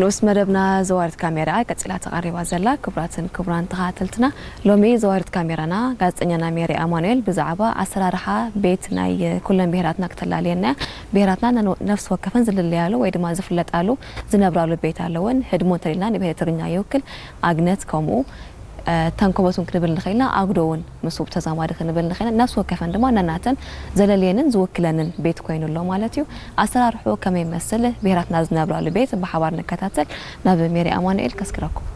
ንኡስ መደብና ዘዋሪት ካሜራ ቀጺላ ተቐሪባ ዘላ። ክቡራትን ክቡራን ተኸታተልትና፣ ሎሚ ዘዋሪት ካሜራና ጋዜጠኛና ሜሪ ኣማኑኤል ብዛዕባ ኣሰራርሓ ቤት ናይ ኩለን ብሄራትና ክተላልየና እያ። ብሄራትና ነን-፣ ነፍሲ ወከፈን ዝልለያሉ ወይ ድማ ዝፍለጣሉ ዝነብራሉ ቤት ኣለወን። ህድሞ እንተልና ንብሄር ትግርኛ ይውክል፣ ኣግነት ከምኡ፣ እ፣ ተንኮበት እውን ክንብል ንኽእልና፣ ኣጉዶ እውን ምስኡ ብተዛማዲ ክንብል ንኽእልና፣ ነፍሲ ወከፈን ድማ ነናተን ዘለልየንን ዝውክለንን ቤት ኮይኑ ኣሎ ማለት እዩ። ኣሰራርሑ ከመይ ይመስል፣ ብሄራትና ዝነብራሉ ቤት ብሓባር ንከታተል። ናብ ሜሪ ኣማኑኤል ከስክረኩም።